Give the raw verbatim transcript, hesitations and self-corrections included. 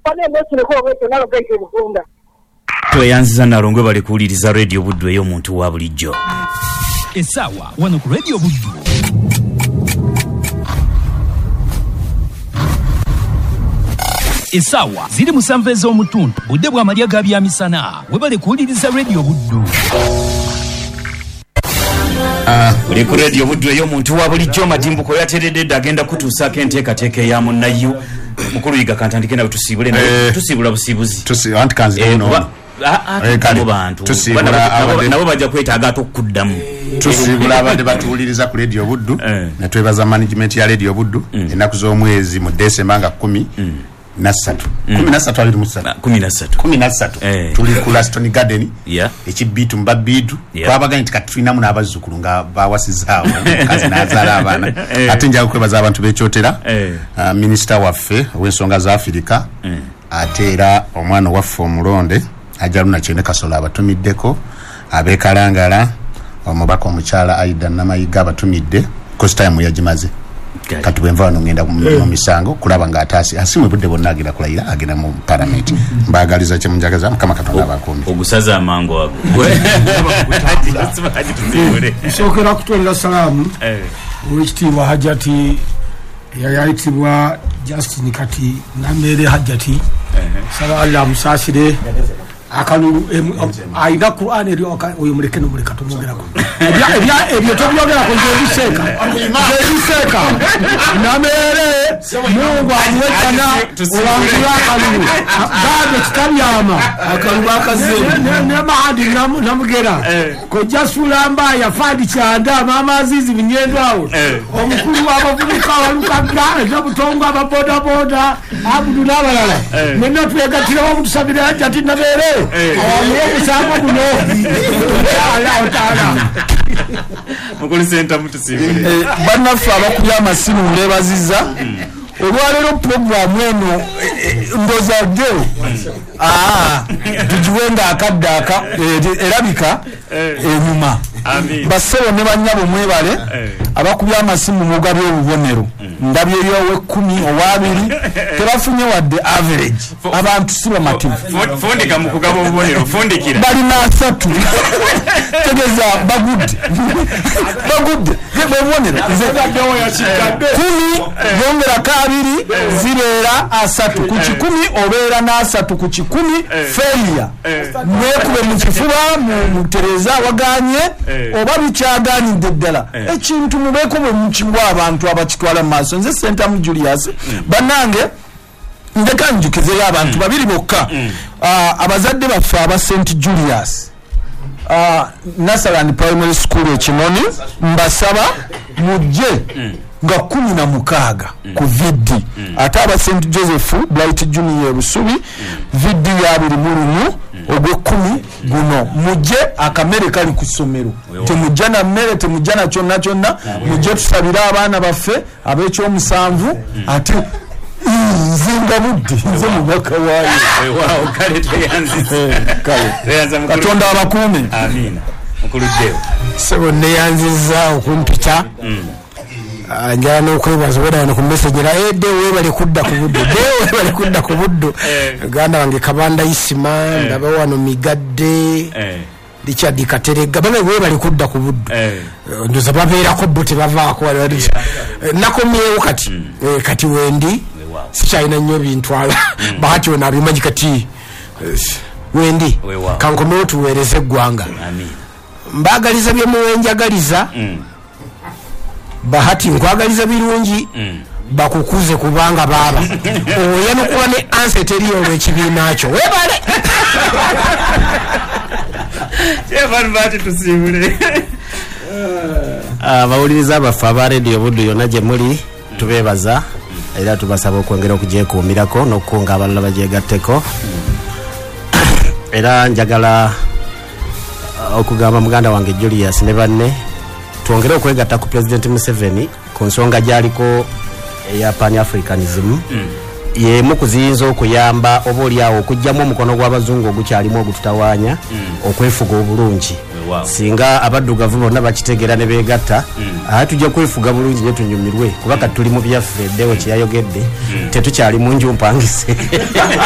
Bane mwekireko obwekyo nalo gaite Bugunda. Tweyanziza Nalongo bali kuwuliriza Radio Buddu ey'omuntu wa bulijjo. Essaawa wano ku Radio Buddu. Essaawa ziri musanvu ez'omutundu, budde bw'amalya ga byamisana. Webale kuwuliriza Radio Buddu. Uli ku Radio Buddu ey'omuntu wa bulijjo. Madimbuko yateredde dda agenda kutuusaako enteekateeka eya munnayu. Mukulu Yiga kantandike nawe tusiibule nawe tusiibula busiibuzi. Tusi anti kanzi no. Kale bantu nabo bajja kwetaaga ate okuddamu. Tusiibula abadde batuwuliriza ku Radio Buddu ne twebaza management ya Radio Buddu. Ennaku z'omwezi mu Desemba nga kumi na ssatu kumi na ssatu abiri mu ssatu kumi na ssatu kumi na ssatu tuli ku Laston Garden ekibiitu mu babiitu. Twabaganye nti kati tulinamu n'abazzukulu nga bawasizaawo omukazi n'azaala abaana. Ate njaga okwebaza abantu b'ekyotera, minisita waffe ow'ensonga za Afirika, ate era omwana waffe omulonde Ajaluna Kyene Kasolo abatumiddeko, ab'ekalangala omubaka omukyala Aida Namayiga abatumidde, costume yagimaze. Kati bwe nva wano ngenda mu misango kulaba nga ataasi asimwe budde bonna agenda kulayira agenda mu palamenti. Mbaagaliza kye munjagaza, Mukama Katonda abakuume. Ogusaza amangu ago. Nsookera kutwalira salaamu owekitiibwa Hajati eyayitibwa Justin kati Namere Hajati, saba Allah amusaasire. Akalulu ayina Qur'an eri oyo muleke nomuleka tumwogerako ebyo tobyogerako nze ebiseeka nze ebiseeka Namere Mungu amuwekana owangula akalulu bado kitabyama akalulu akazeemu ne mahadi namugera kojja Sulamba yafadi kyanda mama Azizi Binyendo awo omukulu w'abavubuka walukagga eby'obutongo ababodaboda Abudu n'abalala mwenna twegattirawo mutusabire Hajati Namere awamuwe omusango guno. Mukulu Sentamu tusiibule. Bannaffe abakubye amasimu mbeebazizza. Olwaleero puroguramu eno ndowooza ddewo tugiwe akadde aka erabika enyuma. Bassebo ne bannyabo mwebale abakubye amasimu mugabye obubonero. Ndabyeyo ow'ekkumi ow'abiri tebafunye wadde average. Abantu si bamativu. Fundika mu kugaba obubonero, fundikira. Balina asatu. Tegeeza bagudde. Bagudde. Obubonero. Kumi yongerako abiri zibeera asatu. Ku kikumi obeera n'asatu ku kikumi failure. Mwekube mu kifuba mutereze awaganye oba bikyagaanidde ddala. Ekintu mubeeko bwe mukiwa abantu abakitwala mu maaso. Nze Sentamu Julius bannange ndeka njukizeyo abantu babiri bokka, abazadde baffe aba Saint Julius Nasaland Primary School e Kinoni, mbasaba mujje nga kumi na mukaaga ku V D. Ate aba Saint Joseph Bright Junior Busubi V D ya abiri mu lumu ogw'ekkumi guno. Mujje akamere kali ku ssomero, temujja na mmere, temujja na kyonna kyonna, mujje tusabire abaana baffe ab'ekyomusanvu. Ate nzinga budde nze mubaka waayo. Katonda abakuume. Amiina. Mukulu Deo. Ssebo neeyanzizza okumpita. Njala n'okwebaza obwedda wano ku message era eh Deo weebale kudda ku Buddu, Deo weebale kudda ku Buddu. Muganda wange Kabanda Isima, ndaba wano Migadde, Richard Katerega, bano weebale kudda ku Buddu. Ndowooza babeerako bo tebavaako. Nakomyewo kati kati wendi sikyalina nnyo bintwala. Bahati wano abimanyi kati wendi kankomewo tuweereze eggwanga. Mbaagaliza bye muwenjagaliza. Bahati nkwagaliza birungi bakukuze kubanga baaba oyanukula ne ansa teriyo olw'ekibiina kyo. Weebale. Abawuliriza baffe aba Radio Buddu yonna gye muli tubeebaza era tubasaba okwongera okugyekuumirako n'okukunga abalala bagyegatteko. Era njagala okugamba muganda wange Julius ne banne twongere okwegatta ku President Museveni ku nsonga gy'aliko eya Pan Africanism. Y'emu ku ziyinza okuyamba oba oliawo okuggyamu omukono gw'abazungu ogukyalimu ogututawaanya okwefuga obulungi. Singa abaddugavu bonna bakitegeera ne beegatta, ate tujja kwefuga bulungi ne tunyumirwe kuba kati tuli mu byaffe. Ddewo kye yayogedde tetukyali mu nju mpangise.